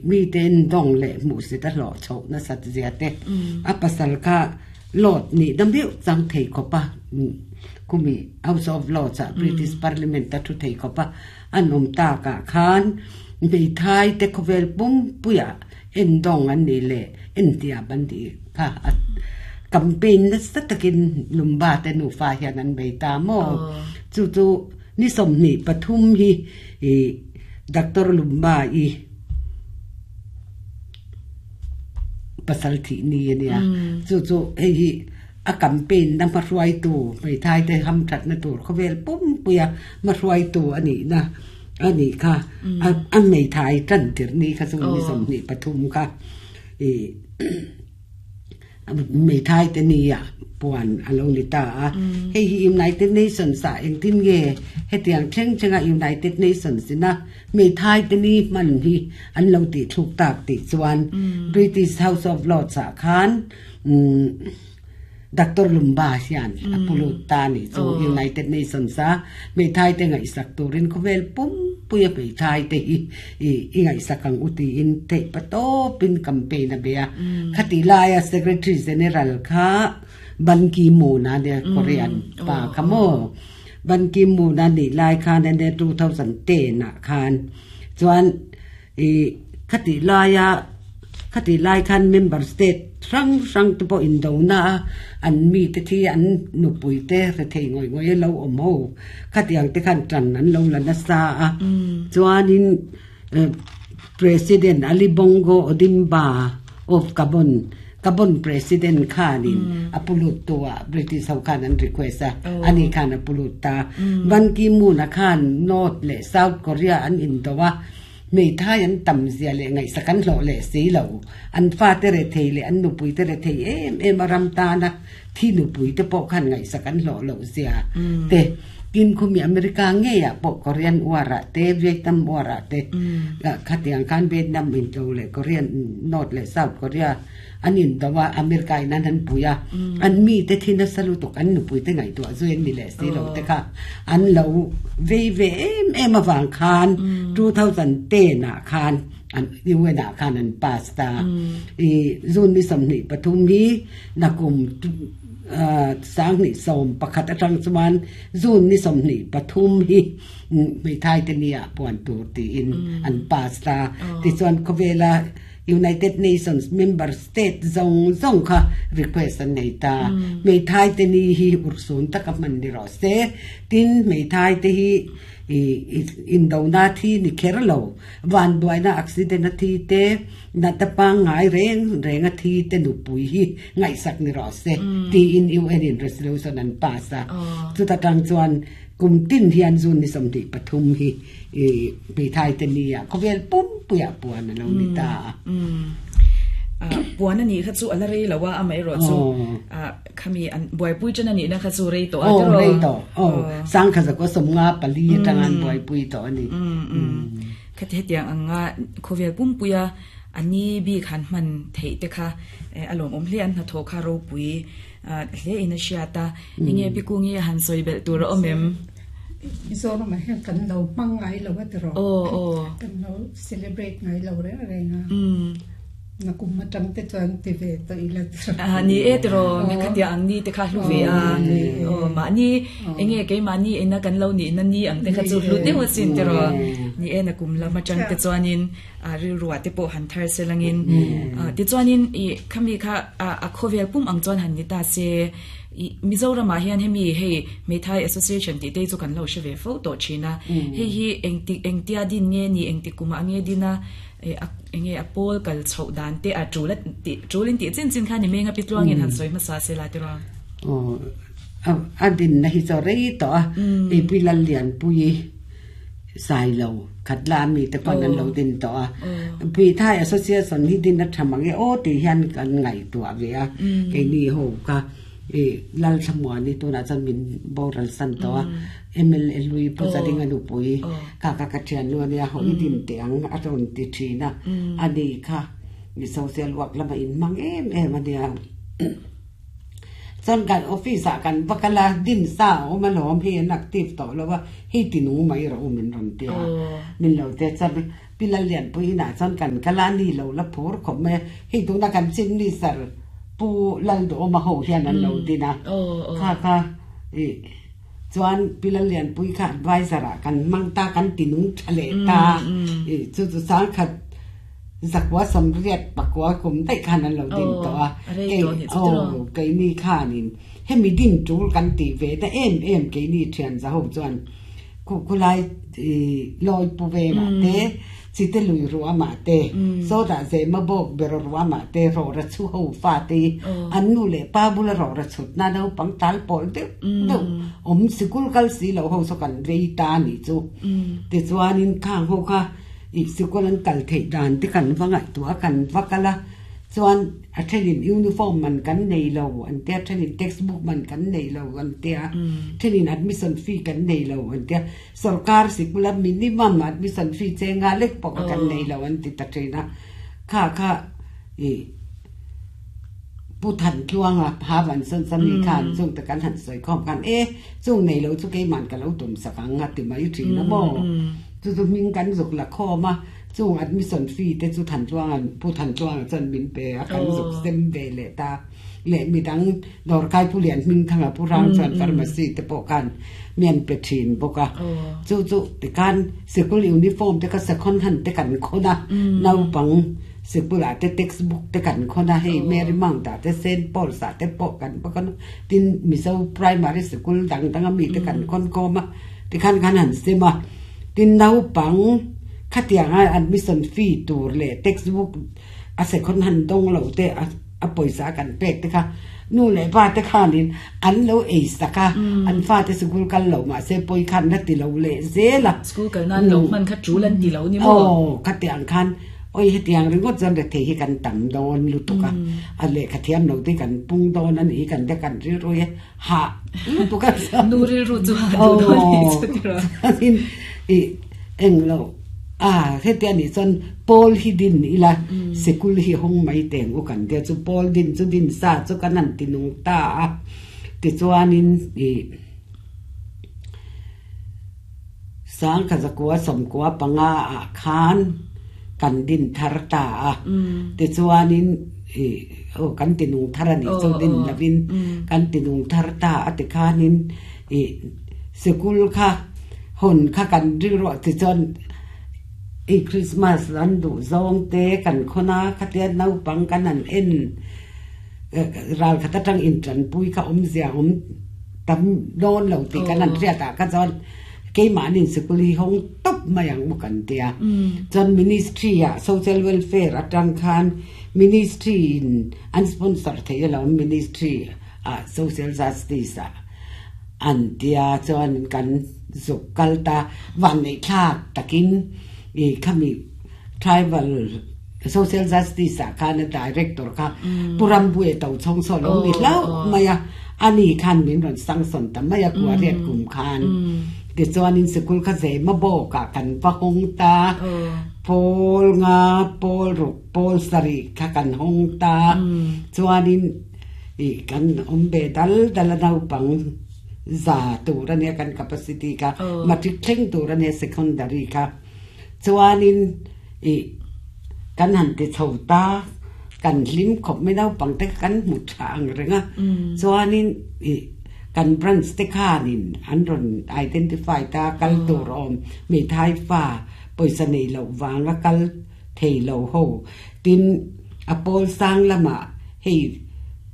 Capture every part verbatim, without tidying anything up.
Mi ten dong le mu se ta lo chho na sat zia te a pasal kha lot ni dam biu chang thei khopa kumi House of Lords a British Parliament ta thu thei khopa an om ta ka khan mei thai te khovel pum puya en dong an ni le en tia ban di kha campaign na sa takin Lumba te nu fa hian an bei ta mo chu chu ni som ni pathum hi e Doctor Lumba i pasal thi ni ania chu chu hei hi a campaign na ma ruai tu mei thai te ham that na tur khovel pum puya ma ruai tu ani na ani kha an mei thai tan tir ni kha chu ni som ni pathum kha e mei thai te ni a puan alo ni ta a hei hi United Nations sa eng tin nge hetiang thleng chenga United Nations na mei thai te ni man hi an lo ti thuk tak ti chuan British House of Lords a khan Doctor Lumba hian apulut ta ni chu United Nations a mei thai te ngai sak turin khovel pum puya mei thai te hi i ngai sakang uti in te pato pin campaign a bia khati laia Secretary General kha Ban Ki-moon a ne Korean pa khamo Ban Ki-moon a ni lai khan ne two thousand ten a khan chuan i khati laia khati lai khan member state rang rang te po in do na an mi te thi an nu pui te re thei ngoi ngoi lo om ho khatiang te khan tran an lo la na sa a chuan in President Ali Bongo Odimba of Gabon Gabon President khanin apulut tua British ho khan an request a ani khan apulut ta Ban Ki-moon a khan North le South Korea an in dowa mei thai an tam zia le ngai sakan lo le si lo an fa te re thei le an nu pui te re thei em em aram ta na thi nu pui te po khan ngai sakan lo lo zia te kin khumi America nge ya po Korean wara te Vietnam wara te khatiang khan Vietnam in to le Korean North le South Korea anin dawa America in an puya an mi te thina salu tok an nu pui te ngai to zuen ni le si lo te kha an lo ve ve em em awang khan two thousand ten a khan an U N a khan an pasta i zun mi sam ni pathum hi nakum sang ni som pakhat atang chuan zun ni som ni pathum hi mei thai te nia puan tur ti in an pasta ti chuan khowela United Nations member state zong zong kha request an nei ta mei thai te ni hi ursun taka man ni ro se tin mei thai te hi in do na thi ni kher lo wan duai na accident na thi te na ta pa ngai reng reng a thi te nu pui hi ngai sak ni ro se ti in U N in resolution an pass a chu ta tang chuan kum tin hian zun ni som ti pathum hi e mei thai te ni a khovel pum puya puan lo ni ta puan ani kha chu ala rei lawa amai ro chu a khami an boi pui chen ani na kha chu rei to a to rei to oh sang kha za ko som nga pali tangan boi pui to ani kha te tiang anga khovel pum puya ani bi khan man thei te kha alom om hle an na tho kha ro pui hle ina shiata inge pi ku nge han soibel tur omem Mizoram ma hian kan lo hmang ngai lo a tiro oh oh kan lo celebrate ngai lo re renga na kum ma tang te chuan ti ve to ila tiro a ni e tiro me khatia ang ni te kha hlu ve a o ma ni enge ke ma ni ena kan lo ni na ni ang te kha chu hlu te ho sin tiro ni e na kum la ma tang te chuanin a ri ruwa te po han thar selangin ti chuanin i khami kha a khovel pum ang chuan han ni ta se Mizoram ma hian hemi hei Meithai Association ti te chu kan lo sheve fo to china hei hi engti engtia din nge ni engti kuma nge dina enge apol kal chho dan te a chula ti chulin ti chin chin kha ni menga pitluang in han soi ma sa se la ti ro o a din na hi cho rei to a e pi lal lian pui sai lo khat la mi te pan an lo din to a pi Thai Association hi din na thamang e o ti hian kan ngai tua ve a ke ni ho ka e lal thamwa ni tu na chan min boral san to a M L L lui pu za ding anu pui ka ka ka thian lu ania ho i din teang a ron ti thina ani kha mi social work lama in mang em em ania chan kan office a kan bakala din sa o ma lom hi an active to lo wa hi ti nu mai ro min ron tia min lo te chan P Pilal lian pui na chan kan kala ni lo la phur khom me hei tu na kan chin ni sar pu lal do ma ho hian an lo dina kha kha i chuan pilal lian pui kha advisor a kan mang ta kan tinung thale ta i chu chu sang khat zakwa samriat pakwa kum dai khan an lo din to a ke o ke ni khanin hemi din tul kan ti ve ta em em ke ni thian za ho chuan ku kulai loi pu ve ma te chi te lui ruwa ma te so da ze ma bok ber ruwa ma te ro ra chu ho fa te an nu le pa bula ro ra chut na no pang tal pol de de om sikul kal si lo ho so kan vei ta ni chu te chuan in khang ho kha i sikul an kal thei dan te kan wangai tua kan wakala chuan a thenin uniform man kan nei lo an te thenin textbook man kan nei lo an te thenin admission fee kan nei lo an te sarkar sikula minimum admission fee chenga lek pok kan nei lo an ti ta thena kha kha i pu than tluanga ha van son sami khan chung ta kan han soi khom kan e chung nei lo chu ke man ka lo tum sakang nga ti mai thina mo chu chu ming kan zuk la kho ma chung admission fee te chu than chuang an pu than chuang chan min pe a kan zuk sem ve le ta le mi dang dor kai pu lian ming thanga pu rang chan pharmacy te po kan mian pe thin boka chu chu te kan sikul uniform te ka second hand te kan khona nau pang sikula te textbook te kan khona hei Mary Mang ta te Saint Paul sa te po kan pa kan tin miso primary school dang dang mi te kan khon ko ma te kan kan han sema tin nau pang khatianga admission fee tur le textbook a second hand dong lo te a poisa kan pek te kha nu le pa te khanin an lo ei saka an fa te school kal lo ma se poi khan na ti lo le zela school kal nan lo man kha chulan ti lo ni mo oh khatiang khan oi hetiang ringot jan re the hi kan tam don lutuka a le khathiam lo te kan pung don an hi kan te kan ri roi ha lutuka nu ri ru chu ha du don ni chu ti ro in i eng lo à thế tiền thì chân Paul hi din ila sikul hi hong mai teng u kan te chu Paul din chu din sa chu kan an tinung ta a ti chuanin i sang kha zakwa somkwa panga a khan kan din thar ta a ti chuanin i o kan tinung thar ani chu din lavin kan tinung thar ta a ti khanin i sikul kha hon kha kan ri ro ti chon i Christmas an du zong te kan khona khatia nau pang kan an en ral khata tang in tran pui kha om zia om tam don lo ti kan an ria ta ka chon ke ma nin sikul hi hong top mayang mu kan tia chon ministry a social welfare atang khan ministry in an sponsor the lo ministry a social justice a an tia chon kan zuk kalta wan nei thak takin i khami tribal social justice a khan director kha puram bue tau chong so lo ni lo maya ani khan min ron sang son ta maya kwa riat kum khan ti chuan in sikul kha ze ma bo ka kan pa hong ta pol nga pol ruk pol sari kha kan hong ta chuan in i kan om be dal dal nau pang za tu ra ne kan capacity ka matric thleng tu ra ne secondary ka chuanin i kan han ti chho ta kan lim khop mai nau pang te kan mu tha ang renga chuanin i kan branch te khanin an ron identify ta kal tur om mi thai fa poisa nei lo wanga kal thei lo ho tin apol sang lama hei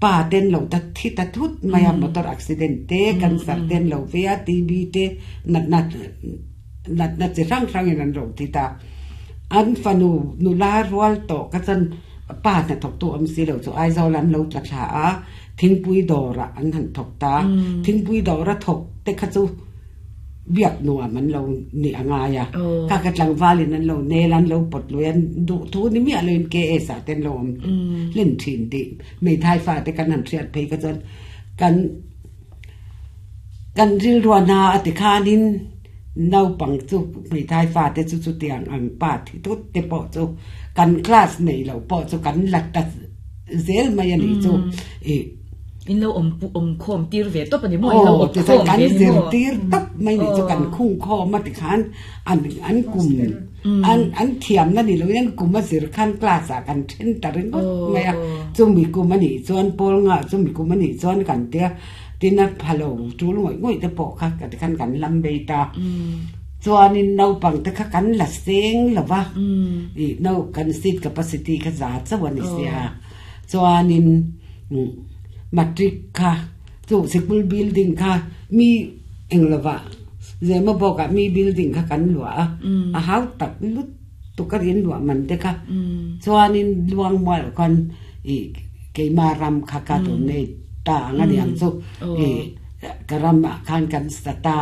pa ten lo ta thi ta thut maya motor accident te kan sar ten lo via tb te nat nat nat nat chi rang rang in an ro ti ta an fanu nu la rual to ka chan pa na thok tu am si lo chu ai zo lan lo tla tha a thingpui dora an han thok ta thingpui dora thok te kha chu biak nuwa man lo ni anga ya ka ka tlang valin an lo ne lan lo pot lo yan du thu ni mi aloin ke e sa ten lo len thin ti mei thai fa te kan han thiat phei ka chan kan kan ril ruana ati khanin nau pang chu mei thai fa te chu chu tiang ang pa thi tut te po chu kan class nei lo po chu kan lat ta zel mai ani chu e In lo om om khom tir ve top ani mo in lo op khom ve ni mo tir top mai ni chu kan khung kho ma ti khan an an kum an an thiam na ni lo yan kum ma zir khan class a kan then ta ring got mai a chu mi kum ani chuan pol nga chu mi kum ani chuan kan te tin a phalo chu ngoi ngoi te po kha ka khan kan lam be ta chuan in nau pang te kha kan la seng lawa i nau kan seat capacity kha za chawan ni sia chuan in matric kha chu school building kha mi englawa zema boka mi building kha kan lua a hau tak lut tu ka rin lua man te kha chuan in luang mal kon i keima ram kha ka tu nei ta anga diang chu i karam khan kan stata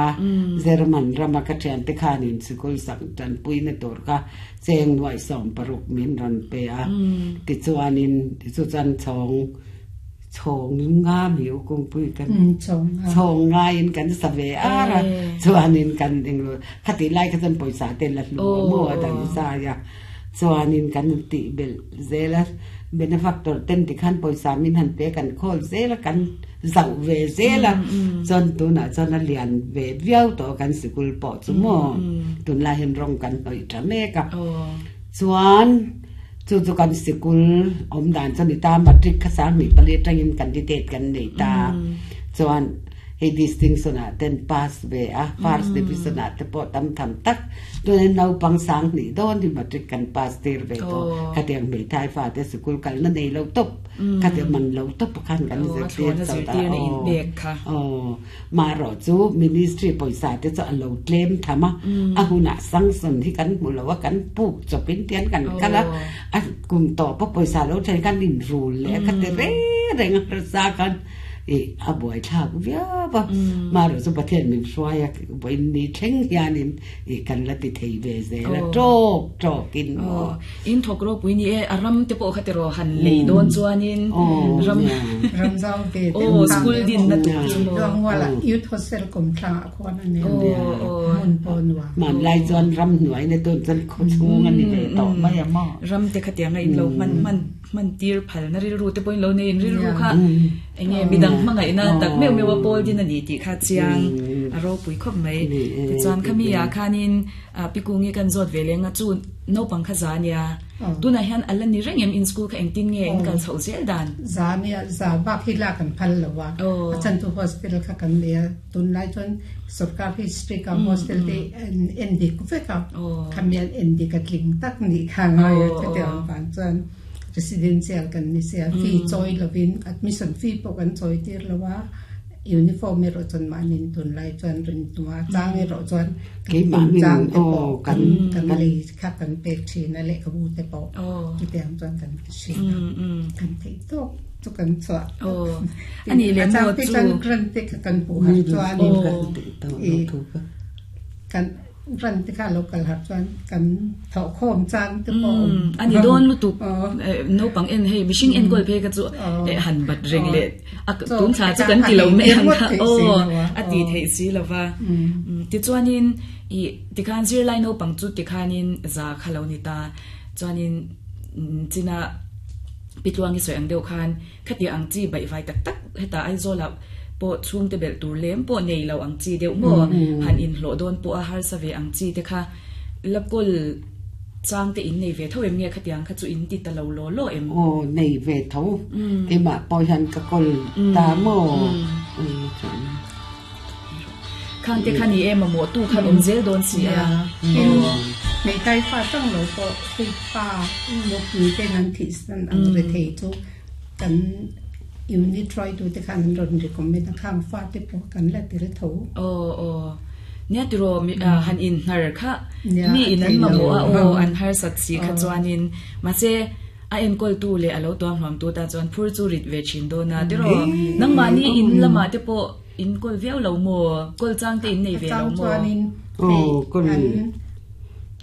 German rama ka thian te khan in school sak tan pui na tur kha cheng noi som paruk min ran pe a ti chuan in ti chu chan chong chong nga mi kung pui kan chong nga in kan save ara chuan in kan ing lo khati lai ka chan poisa te la lu mo dang sa ya chuan in kan ti bel zela benefactor ten ti khan poisa min han pe kan khol zela kan zau ve zela chon tu na chon a lian ve viau to kan sikul po chu mo tun la hen rong kan noi tha me ka chuan chu chu kan sikul om dan chan ni ta matric kha sang ni pali tangin candidate kan nei ta chuan he distinction a ten pass ve a first division a te po tam tham tak tu ne nau pang sang ni don ni matric kan pass tir ve to kha tiang me thai fa te sikul kal na nei lo top kha te man lo top khan kan zir tir chau ta o ma ro chu ministry poisa te chu lo claim thama a huna sanction hi kan mu lo wa kan puk chopin tian kan kala a kum to po poisa lo thai kan in rule le kha te re reng ra kan e a boy thak via ba ma ro chu pathian min hruai boi ni thleng hianin e kan la ti thei ve ze la tok tok in in thok ro pui ni e aram te po kha te ro han lei don chuanin ram ram zau ve te school din na tu chu mo wala youth hostel kom thla khon ani mun pon wa man lai chuan ram hnuai ne ton chan kho chung ani ve to mai ma ram te kha tiang in lo man man man tir phal na ri ru te point lo nei ri ru kha enge midang mangai na tak meu mewa pol din ani ti kha chiang aro pui khop mai ti chuan khami ya khanin pikungi kan zot velenga chu no pangkha zania tuna hian alan ni rengem in school kha engtin nge in kal chho zel dan zania za ba khila kan phal lawa achan tu hostel kha kan le tun lai chon sarkar hi strict ka hostel te en dik ve ka khamian en dik atling tak ni kha ngai te te an chuan residential kan ni sia fee choi lovin admission fee po kan choi tir lawa uniform ro chon manin tun lai chon rin tua chang ro chon ke ma min o kan kan le kha kan pe thi na le ka bu te po ti te am chon kan thi kan thei to chu kan chwa o ani le mo chu kan kran te kan pu har chwa ni kan te to thu ka kan ran te kha local har chuan kan tho khom chang te po ani don lu tu no pang en hei mishing en gol phe ka chu han bat reng le tun cha chu kan ti lo me han kha o ati thei si lova ti chuanin i ti khan zir lai no pang chu ti khanin za khalo ni ta chuanin china pitluangi soi ang deuh khan khati ang chi bai vai tak tak heta ai zola po chung te bel tur lem po nei lo ang chi deuh mo han in hlo don po a har sa ve ang chi te kha lapkol chang te in nei ve tho em nge khatiang kha chu in ti ta lo lo lo em o nei ve tho ke ma po han ka kol ta mo khang te khani em mo tu khan om zel don si a mei tai fa tang lo po ti pa mo pi te nan thi san ang re thei chu kan unit try to te khan ron recommend khang fa te po kan la til tho o o nia tiro han in nar kha mi in an ma mo a o an har sat si kha chuanin ma se a en kol tu le alo tuam hlam tu ta chuan phur chu rit ve chin do na tiro nang ma ni in lama te po in kol viau lo mo kol chang te in nei ve lo mo o kol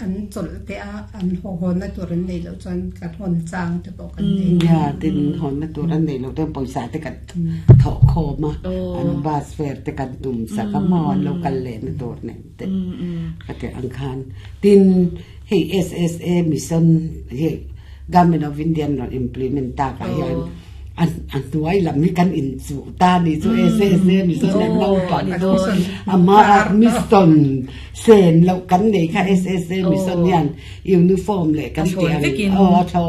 an chol te a an ho ho na tur an nei lo chuan ka hon chang te po kan nei ya tin hon na tur an nei lo te poisa te kan tho kho ma an bus fare te kan tum sa ka mo lo kal le na tur ne te ka te ang khan tin hei S S A mission he Government of India not implement ta ka yan An an tuai lam hi kan in chu ta ni chu S S A mission an naupang ama mission sen lo kan nei kha S S A mission hian uniform leh kan ti ang aw a thlawn.